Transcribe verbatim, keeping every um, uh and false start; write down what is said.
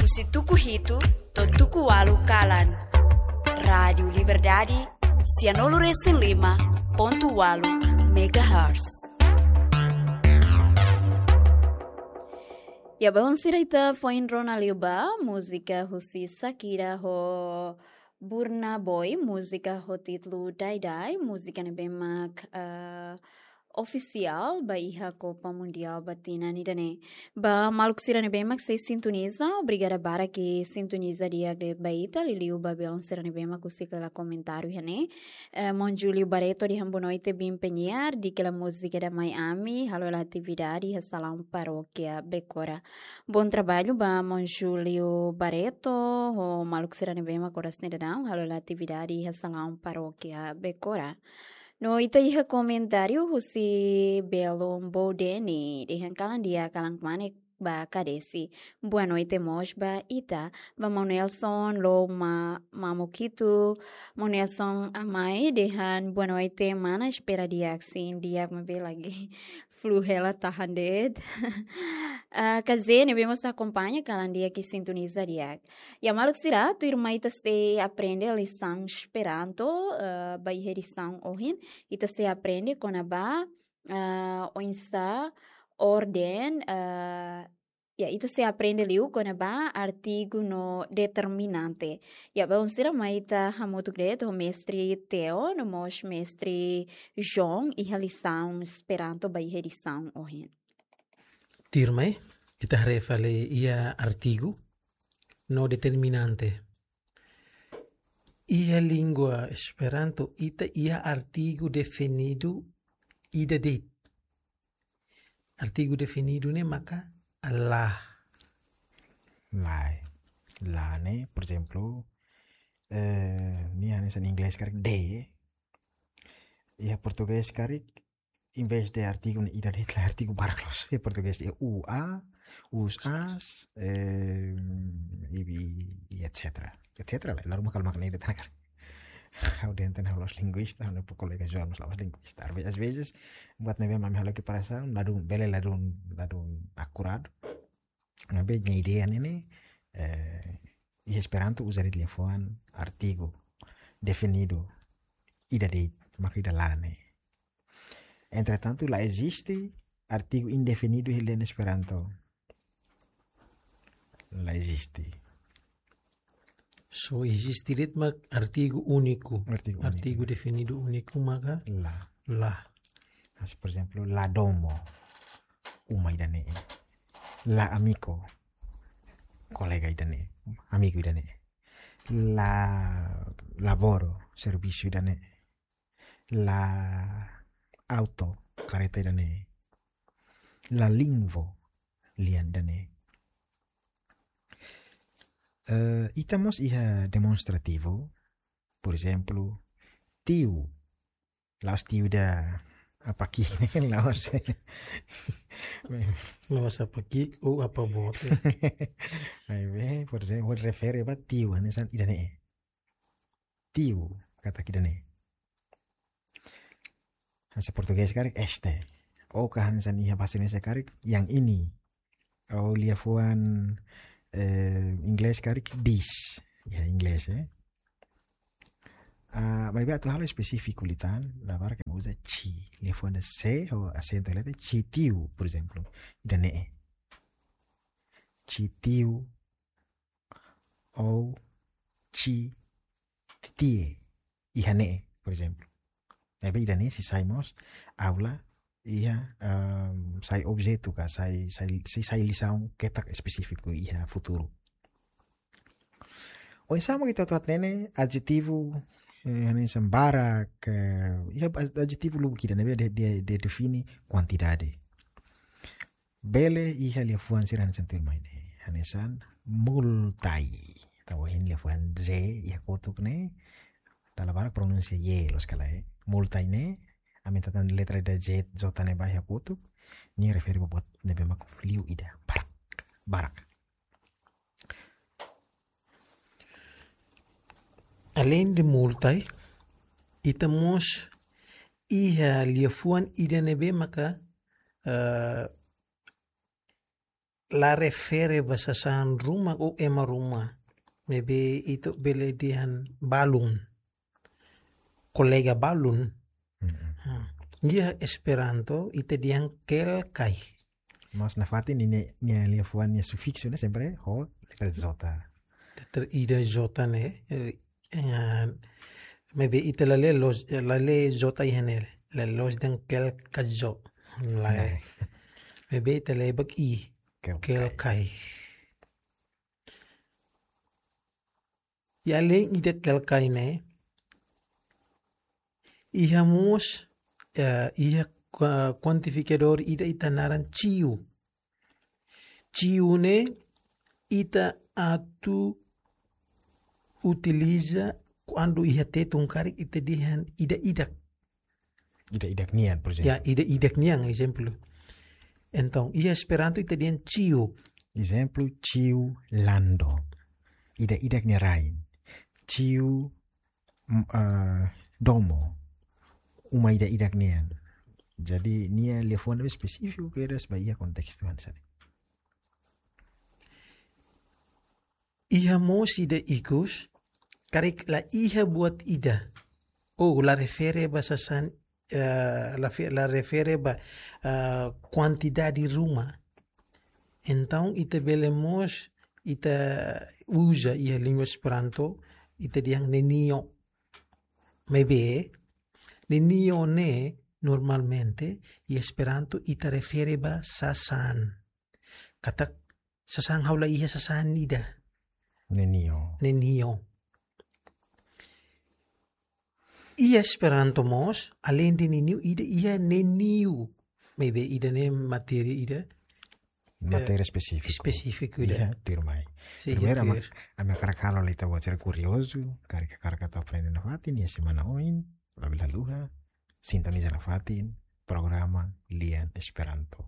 Husi tuku hitu to'o tuku ualu kalan. Rádiu Liberdade, sianulu resin lima pontu ualu megahertz. Ya, belun sira, ita foin rona liu ba múzika husi Shakira ho Burna Boy, múzika ho títulu Die Die, múzika ne'ebé mak, eh, ofisiál ba iha Copa Mundial ba tinan ida-ne'e. Ba maluk sira ne'ebé mak sei sintoniza, obrigada barak ke sintoniza di'ak de'it ba ita, liuliu ba belun sira ne'ebé mak husik hela komentáriu iha ne'e. Eh, maun Júlio Barreto dehan boa noite, bin penyiar, di'ak hela múzika ida mai ami, halo hela atividade iha salaun parókia Becora. Bom trabalho ba maun Júlio Barreto, ho maluk sira ne'ebé mak oras ne'e daudaun halo hela atividade iha salaun parókia Becora. No ita iha komentáriu husi belun Bodeni, dehan kalan di'ak, kalan kmanek ba Kadesi. Boa noite mós ba ita, ba maun Nelson, Loma, Mamukitu, maun Nelson Amai, dehan boa noite mana, espera di'ak, sin, di'ak maibé lagi flu hela, tahan de'it. Ah, Kazene, ne'ebé mós akompaña, kalan di'ak i sintoniza di'ak. Ya maluk sira, tuirmai ita sei aprende lisaun Esperanto, eh, ba iha edisaun ohin, ita sei aprende kona-ba, eh, oinsá orden, eh, ya, ita sei aprende liu kona-ba artigu no determinante. Ya, belun sira, mai ita hamutuk de'it ho mestre Theo, no mós mestre João, iha lisaun Esperanto ba iha edisaun ohin. Tuirmai, ita haree fali iha artigu no determinante. Iha língua Esperanto, ita iha artigu definidu ida de'it. Artigu definidu ne'e maka la. La, eh. La ne'e, por ezemplu, eh, nia hanesan inglés karik de. Iha portugés karik, em vez de artigu ne'e ida de'it, la, artigu barak loos. Iha portugés de u, a, us, as, eh, i, i, i et cetera. Et cetera, la, la ruma kalau makan ida tanakar. Ha'u dehan tan ha'u la'ós linguista, ha'u-nia kolega João la'ós linguista. Às ve-, às vezes, buat ne'ebé mak ami halo komparasaun, ladún, bele ladún, ladún akuradu. Maibé nia ideia ne'e, eh, iha Esperanto uza de'it liafuan artigu definidu ida de'it, maka ida la ne'e. Entretantu, la eziste artigu indefinidu iha lian Esperanto. La eziste. Só eziste de'it mak artigu úniku. Artigu úniku. Artigu definidu úniku maka la. La. Hanesan, por ezemplu, la domo, uma ida-ne'e. La amiko, kolega ida-ne'e, amigu ida-ne'e. La laboro, servisu ida-ne'e. La auto, karreta ida-ne'e. La lingvo, lian ida-ne'e. Eh, ita mós iha demonstrativu, por ezemplu, tiu. La'ós tiu ida apa ki'ik ne'e, la'ós. La'ós apa ki'ik ou apa boot. Maibé, por ezemplu, refere ba tiu, hanesan ida-ne'e. Tiu, katak ida-ne'e. Hanesan portugés karik este. Ou ka hanesan iha bahasa Indonesia karik yang ini. Ou liafuan, eh, inglés karik this. Ya, inglés, eh. Ah, maibé atu halo espesífiku liután, dala barak ema uza ci. Liafuan ida C ho asentu leten, ci tiu, por ezemplu. Ida-ne'e. Ci tiu ou ci titie iha ne'e, por ezemplu. Maibé ida-ne'e sei sai mós aula iha, ehm, sai objetu ka, sai, sai, sei sai lisaun ketak espesífiku iha futuru. Oinsá mak ita atu hatene adjetivu, eh, hanesan barak, eh, iha ad-, adjetivu lubuk ida ne'ebé de, de, de define kuantidade. Bele iha liafuan sira hanesan tuirmai ne'e. Hanesan multai. Tau hein liafuan Z iha kotuk ne'e. Dala barak pronunsia Y loos ka lae. Multai ne'e. Ami tau tan letra ida Z, J ne'e ba iha kotuk. Nia refere ba buat ne'ebé mak liu ida. Barak. Barak. Além de multai, ita mós iha liafuan ida ne'ebé maka, eh, la refere ba sasán ruma ou ema ruma. Maibé ita bele dehan balun. Kolega balun. Iha Esperanto ita dehan kelkai. Mas nafatin nia, nia liafuan nia sufiksu ne'e sempre ho letra J. Letra ida J ne'e. Maibé ita la lee loos, la lee J iha ne'e. La lee loos dehan kelkai J. Lae. Maibé ita lee bak I. Kelkai. I aleinde ida kelkai ne'e, iha mós, iha kuantifikadór ida ita naran ciu. Ciu ne'e ita atu utiliza kuandu iha Tetun karik ita dehan ida-idak. Ida-idak nian, por ezemplu. Ya, ida-idak nian, ezemplu. Entaun, iha Esperanto ita dehan ciu. Ezemplu, ciu lando. Ida-idak nia rain. Ciu domo. Uma ida-idak nian. Jadi, nia liafuan ne'ebé espesífiku kedas ba iha kontestu hanesan ne'e. Iha mós ida ikus, karik la iha buat ida. Ou la refere ba sasán, la refere ba kuantidade ruma. Entaun ita bele mós, ita uza iha língua Esperanto, ita dehan nenio. Maibé, nenio ne'e normalmente iha Esperanto ita refere ba sasán. Katak sasán ha'u la iha sasán ida. Nenio. Nenio. Iha Esperanto mós, aleinde nenio ida iha neniu. Maibé ida ne'e matéria ida. Matéria espesífiku. Espesífiku ida. Iha, tuirmai. Primeiru, ami hakarak halo ita-boot sira kuriozu, karik hakarak atu aprende nafatin, iha semana oin, labele haluha, sintoniza nafatin programa Lian Esperanto.